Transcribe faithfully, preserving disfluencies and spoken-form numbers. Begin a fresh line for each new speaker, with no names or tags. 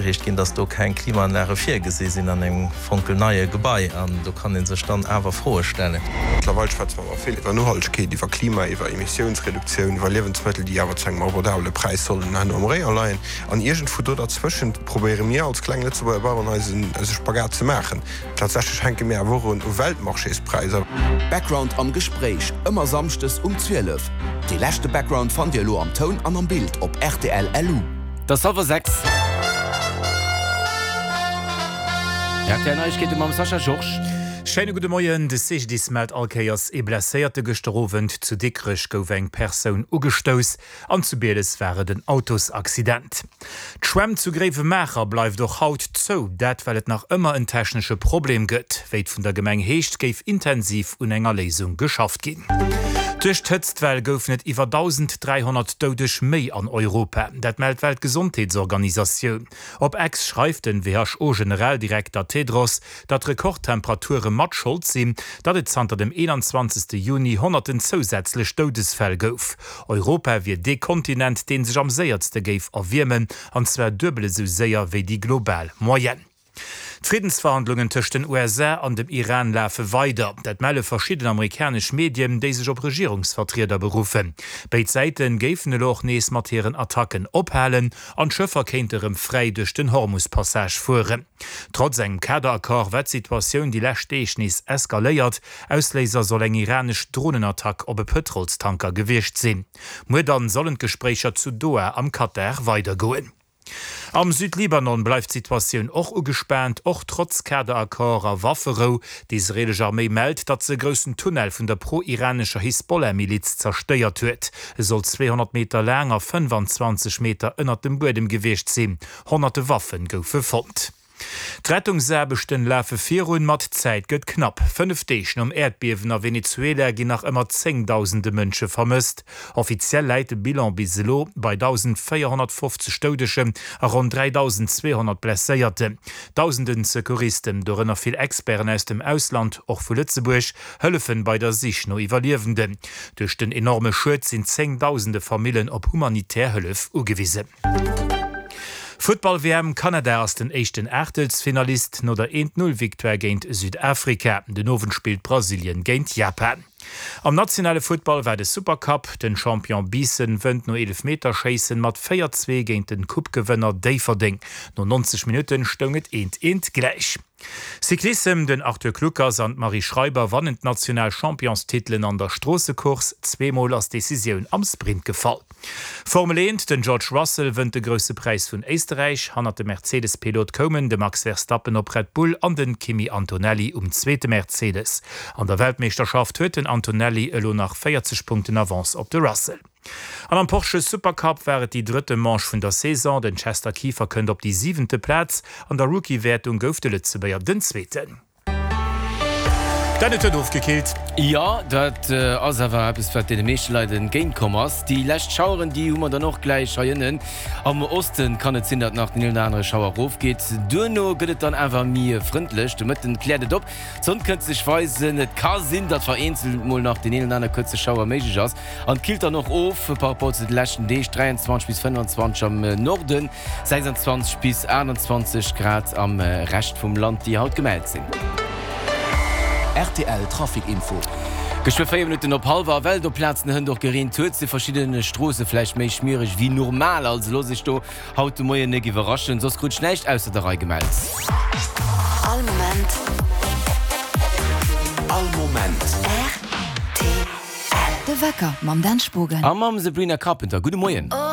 opgereegt ginn, dass do keng Klimaanlage virgesi sinn an engem fonkelneie Gebai. An do kann ee sech dann awer Froe stellen.
Mëttlerweil schwätze mer awer vill iwwer Nohaltegkeet, iwwer Klima, iwwer Emissiounsreduktioun, iwwer Liewensmëttel, déi awer zu engem abordabele Präis sollen herno am Rayon leien. An iergendwou do derzwëschent probéiere mir als kleng Lëtzebuerger Baueren eisen eise Spagat ze maachen. Tatsächlech hänke mir awer och un u Weltmarchéspräisser.
Background am Gespréich, ëmmer Samschdes um zwielef. Dee leschte Background fannt Dir elo am Toun an am Bild op rtl lu.
Et ass hallwer sechs. R T L Neiegkeete mam Sascha Georges.
Schéine gudde Moien. De C G D I S mellt all Kéiers ee Blesséierte. Gëschter Owend zu Dikrech gouf eng Persoun ugestouss an zu Bieles war et en Autosaccident. D'Schwämm zu Gréiwemaacher bleift och haut zou, dat well et nach ëmmer en technesche Problem gëtt. Wéi et vun der Gemeng heescht, géif intensiv un enger Léisung geschafft ginn. Duerch d'Hëtztwell goufen et iwwer dausend dräihonnert Doudeg méi an Europa. Dat mellt d'Weltgesondheetsorganisatioun. Op X schreift den W H O-Generaldirekter Tedros, datt Rekordtemperature mat Schold sinn, datt et zanter dem eenanzwanzegste Juni honnerten zousätzlech Doudesfäll gouf. Europa wier dee Kontinent, dee sech am séierste géif erwiermen, an zwar duebel esou séier wéi déi global Moyenne. D'Friddensverhandlungen tëscht den U S A an dem Iran lafe weider. Dat melle verschidden amerikanesch Medien, déi sech op Regierungsvertrieder beruffen. Béid Säite géifen elo och nees mat hiren Attacken ophalen an d'Schëffer kéinte rëm fräi duerch den Hormus-Passage fueren. Trotz engem Kaderaccord war d'Situatioun déi lescht Deeg nees eskaléiert. Ausléiser soll eng iranesch Dronenattack op e Pëtrolstanker gewiescht sinn. Muer dann sollen d'Gespréicher zu Doha am Katar weidergoen. Am Südlibanon bleift d'Situatioun och ugespaant, och trotz Kaderaccord a Wafferou. D'israelesch Arméi mellt, datt se e groussen Tunnel vun der pro-iranescher Hisbollah-Miliz zerstéiert huet. E soll zweehonnert Meter laang a fënnefanzwanzeg Meter ënnert dem Buedem gewiescht sinn. Honnerte Waffe goufe fonnt. D'Rettungsaarbechten lafe virun, ma d'Zäit gëtt knapp. Fënnef Deeg nom Äerdbiewen a Venezuela ginn nach ëmmer zéngdausende Mënsche vermësst. Offiziell läit de Bilan bis elo bei dausendvéierhonnertfofzeg Doudegen a ronn dräidausend zweehonnert Blesséierten. Dausenden Secouristen, dorënner vill Experten aus dem Ausland, och vu Lëtzebuerg, hëllefen bei der Sich no Iwwerliewenden. Duerch den enorme Schued sinn zéngdausende Famillen op humanitär Hëllef ugewisen. Futtball-W M: Kanada ass den éischten Aachtelsfinalist no der een-Null-Victoire géint Südafrika. Den Owend spillt Brasilien géint Japan. Am nationale Futtball war de Supercup. Den Champion Biissen wënnt no Eelefmeterschéissen mat véier zwee géint den Coupe-Gewënner Déifferdeng. No neunzeg Minutten stoung et eent eent gläich. Cyclissem: Den Arthur Kluckers an d'Marie Schreiber wannen d'national Championstitelen an der Stroossecourse. Zweemol ass d'Decisioun am Sprint gefall. Formel eent: Den George Russell wënnt de Grousse Präis vun Éisterräich. Hannert dem Mercedes-Pilot koumen de Max Verstappen op Red Bull an den Kimi Antonelli um zweete Mercedes. An der Weltmeeschterschaft huet den Antonelli elo nach véierzeg Punkten Avance op de Russell. An am Porsche Supercup war et déi drëtte Manche vun der Saison. Den Chester Kieffer kënnt op déi siwente Plaz. An der Rookie-Wäertung gouf de Lëtzebuerger den Zweeten. Dan, et huet ofgekillt.
Jo, dat ass awer eppes, wat deene meeschte Leit entgéint komm ass. Déi lescht Schaueren, déi hu mer dann och gläich hei ënnen. Am Oste kann et sinn, datt nach den een oder anere Schauer erofgeet. Duerno gëtt et dann awer méi frëndlech. De Mëtten kläert et op, d'Sonn kënnt sech weisen. Et ka sinn, datt vereenzelt mol nach deen een oder anere kuerze Schauer méiglech ass. An et killt dann och of par rapport zu de leschten Deeg, dräianzwanzeg bis fënnfanzwanzeg am Norden, sechsanzwanzeg bis aachtanzwanzeg Grad am Rescht vum Land, déi haut gemellt sinn.
R T L Trafic Info.
Geschwë véier Minutten op hallwer. A well et op Plazen hënt och gereent huet, si verschidde Stroosse vläicht méi schmiereg wéi normal. Also loosst iech do haut de Moien nek iwwerraschen. Soss krut ech näischt ausser der Rei gemellt.
All Moment.
All Moment.
R T L. De Wecker mam Dan Spogen.
A mam Sabrina Carpenter. Gudde Moien.
Oh.